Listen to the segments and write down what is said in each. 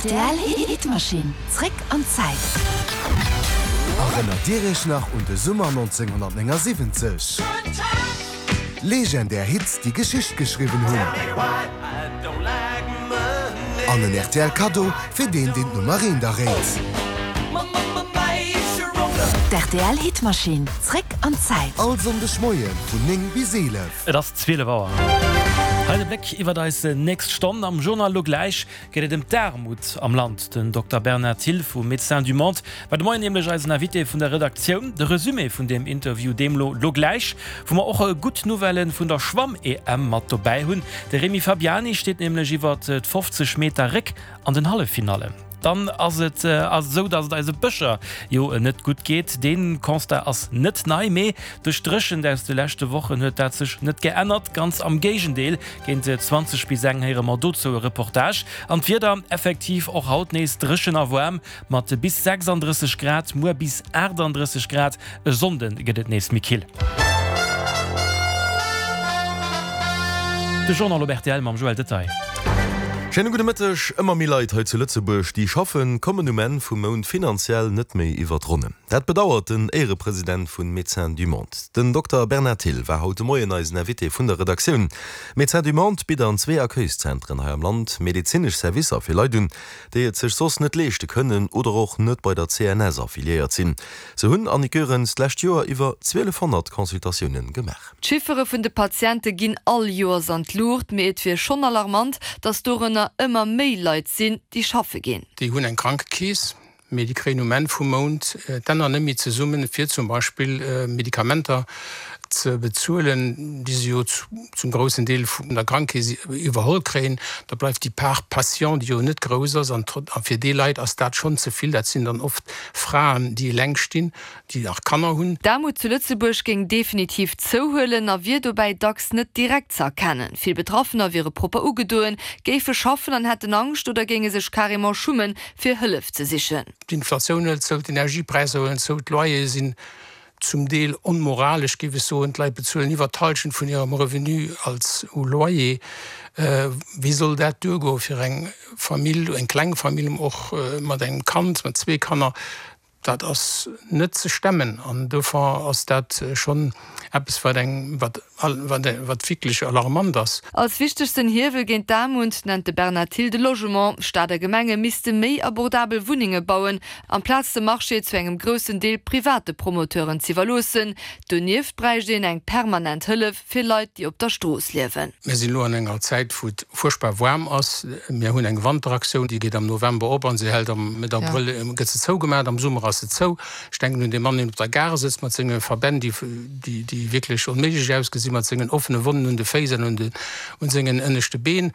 Rtl Hitmaschinn, zréck an d'Zäit. Erënnert Dir Iech nach un de Summer 1979? Legendär Hits, déi Geschicht geschriwwen hunn. An en rtl Kaddo fir deen, deen d'Nummer eent erréit. D'RTL Hitmaschinn, zréck an d'Zäit. All Sonndeg Moie vun 9 bis 11. Et ass 12 Auer. Hei de Bléck iwwert eis nächst Stonn. Am Journal elo gläich geet et ëm d'Aarmut am Land. Den Dokter Bernard Thill vu Médecins du Monde war de Moien nämlech eisen Invité vun der Redaktioun. De Resumé vun deem Interview deemlo lo gläich, wou mer och gutt Nouvellë vun der Schwamm-EM mat dobäi hunn. De Rémi Fabiani steet nämlech iwwert d' 50 Meter Réck an den Halleffinallen. Dann ass et esou, datt et eise Bëscher jo net gutt geet. Dee Constat ass net nei, mee duerch d'Dréchent aus de leschte Wochen huet dat sech net geännert. Ganz am Géigendeel, géint 20 bis eng héiere mer dozou e Reportage. An d'Wieder, effektiv och haut nees dréchen a waarm mat bis 36 Grad, muer bis 38 Grad. E Sonnde gëtt et nees méi kill. De Journal op rtl mam Joël Detaille. Schéine gudde Mëtteg. Ëmmer méi Leit hei zu Lëtzebuerg, déi schaffen, kommen um Enn vum Mount finanziell net méi iwwer d'Ronnen. Dat bedauert den Éierepresident vun Médecins du Monde. Den Dokter Bernard Thill war haut de Moien eisen Invité vun der Redaktioun. Médecins du Monde bitt an zwee Accueilszentren hei am Land medezinesch Servicer fir Leit un, déi et sech soss net leeschte kënnen oder och net bei der CNS affiliéiert sinn. Se hunn, Annick Goerens, d'lescht Joer iwwer 1.200 Consultatioune gemaach. D'Chiffere vun de Patiente ginn all Joers an d'Luucht, mee et wier schonn alarmant, datt dorënner ëmmer méi Leit sinn, déi schaffe ginn. Déi hunn eng Krankekeess, mee déi kréien um Enn vum Mount d'Enner net méi zesummen, fir zum Beispill Medikamenter ze bezuelen, déi se jo zum groussen Deel vun der Krankekeess iwwerholl kréien. Da bleift déi Part patient, déi jo net grouss ass, an fir déi Leit ass dat schonn ze vill. Dat sinn dann oft Fraen, déi eleng stinn, déi nach Kanner hunn. D'Aarmut zu Lëtzebuerg géing definitiv zouhuelen a wier dobäi dacks net direkt ze erkennen. Vill Betraffener wiere propper ugedoen, géife schaffen an hätten Angscht oder géinge sech carrément schummen, fir Hëllef ze sichen. D'Inflatioun hëlt zou, d'Energiepräisser huelen zou, d'Loyere sinn zum Deel onmoralesch, géif ech soen. D'Leit bezuelen iwwer d'Hallschent vun hirem Revenu als u Loyer. Wéi soll dat duergoe fir eng Famill, eng kleng Famill och mat engem Kand, mat zwee Kanner? Dat ass net ze stemmen an dofir ass dat schonn eppes, wat eng, wat, wat wierklech alarmant ass. Als wichtegsten Hiewel géint d'Aarmut nennt de Bernard Thill de Logement. Stad a Gemenge misste méi abordabel Wunnenge bauen, amplaz de Marché zu engem groussen Deel private Promoteuren z'iwwerloossen. Donieft bräicht een eng permanent Hëllef fir Leit, déi op der Strooss liewen. Mir sinn elo an enger Zäit, wou et fuerchtbar waarm ass. Mir hunn eng Wanteraktioun, déi geet am November op a se hält am Mëtt Abrëll gëtt se zougemaach. Am Summer ass se zou. Ech denken un dee Mann, deen op der Gare sëtzt mat senge Verbänn, déi, déi wierklech onméiglech ausgesinn, mat sengen offene Wonnen un de Féiss an un sengen ënneschte Been.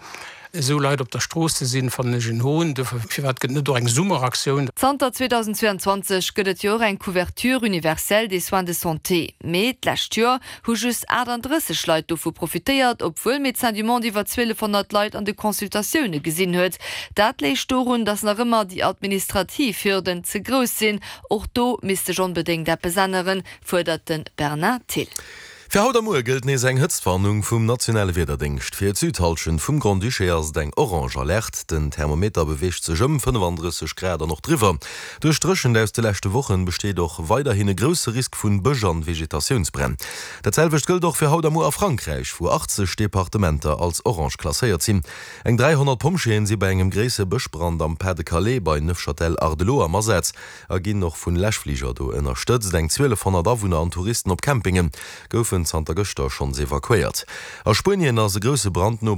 Esou Leit op der Strooss ze sinn, fannen ech en Hohn. Dofir, firwat gëtt net och eng Summeraktioun? Zanter 2022 gëtt et jo och eng Couverture universelle des soins de santé. Mee d'lescht Joer hu just 38 Leit dovu profitéiert, obwuel Médecins du Monde iwwer 1.200 Leit an de Consultatioune gesinn huet. Dat léich dorun, datt nach ëmmer déi administrativ Hürden ze grouss sinn. Och do misst sech onbedéngt eppes änneren, fuerdert de Bernard Thill. Fir haut a muer gëllt nees eng Hëtztwarnung vum nationale Wiederdéngscht. Fir d'Südhallschent vum Grand-Duché ass et eng orange Alerte. Den Thermometer beweegt sech ëm 35 Grad an och driwwer. Duerch d'Dréchent aus de leschte Wochen besteet och weiderhin e grousse Risk vun Bësch an Vegetatiounsbränn. Dat selwecht gëllt och fir haut a muer a Frankräich, wou 80 Departementer als orange klasséiert sinn. Eng 300 Pompjeeën si bei engem gréisse Bëschbrand am Pas-de-Calais bei Neufchâtel-Hardelot am Asaz. a ginn och vun Läschfliger do ënnerstëtzt. Eng 1.200 Awunner an Touristen op Campinge goufen zanter gëschter schonns evakuéiert. A Spuenien ass e grousse Brand no bei.